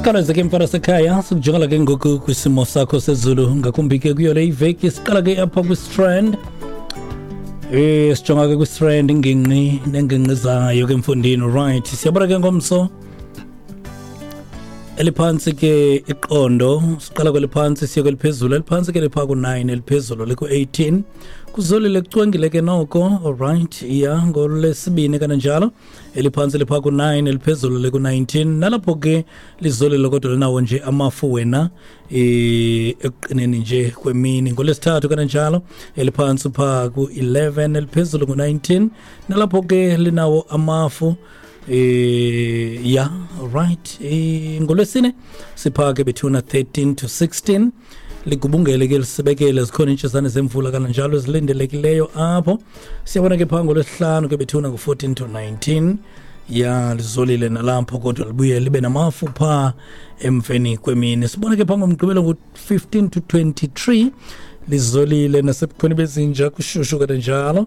Siqalaze ke mfana sekhaya, sikujongela ke ngoku kwisimo sakho sezulu, ngakumbi ke kuyo le iveki. Siqala ke apha kwistrand, sijonga ke kwistrand, ingingqi nengingqi zayo ke mfundini. Right, siyabona ke ngomso eliphantsi ke iqondo, siqala kweliphantsi siye kweliphezulu. Eliphantsi ke liphaa ku-9, eliphezulu liku-18. Kuzolile, kucwengile ke noko. Alright, ya, ngolwesibini kananjalo eliphantsi liphaa ku-9, eliphezulu liku-19. Nalapho ke lizolile kodwa linawo nje amafu wena ekuqineni nje kwemini. Ngolwesithathu kananjalo eliphantsi phaa ku-11, eliphezulu ngu-19. Nalapho ke linawo amafu. Ya, right, ngolwesine siphake bethuna 13 to 16, ligubungele ke lisibekele, zikhona iintshisane zemvula kananjalo ezilindelekileyo apho. Siyabona ke phaa ngolwesihlanu ke bethuna ngu-14 to 19. Ya, lizolile nalapho kodwa libuye libe namafu phaa emveni kwemini. Sibona ke phaa ngomgqibelo ngu-15 to 23, lizolile nasebukhweni bezinja, kushushu kananjalo.